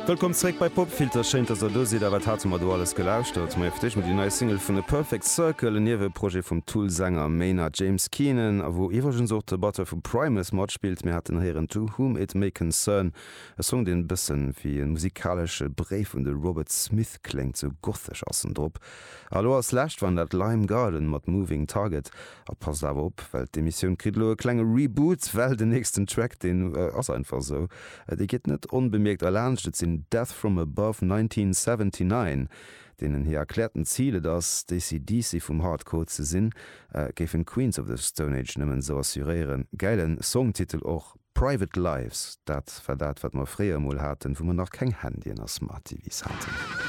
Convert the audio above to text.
Wëllkomm zeréck bei Popfilter, schéin dass der do sidd. A wat hate mer do alles gelauschtert? Majo fir d'éischt mol déi nei Single vun A Perfect Circle, en Nieweprojet vum Tool-Sänger Maynard James Keenan, a wou iwwregens och de Batteur vu Primus matspillt. Mir haten héieren To Whom It May Concern, e Song deen e bëssen wéi e musikalesche Bréif un de Robert Smith kléngt, sou gothesch ass en drop. A lo als lescht waren dat Lime Garden mat Moving Target. A passt awer op, well d'Emissioun kritt elo e klenge Reboot, well den nächsten Track, deen ass einfach esou, dee geet net onbemierkt erlaanscht. Et sinn Death From Above 1979, deenen hir erkläerten Zil et ass, d'AC/DC vum Hardcore ze sinn, géifen d'Queens of the Stone Age nëmmen esou assuréieren. Gäilen Songtitel och, Private Lives, dat war dat wat mer fréier emol haten, wou mer nach keng Handyen a Smart TVs haten.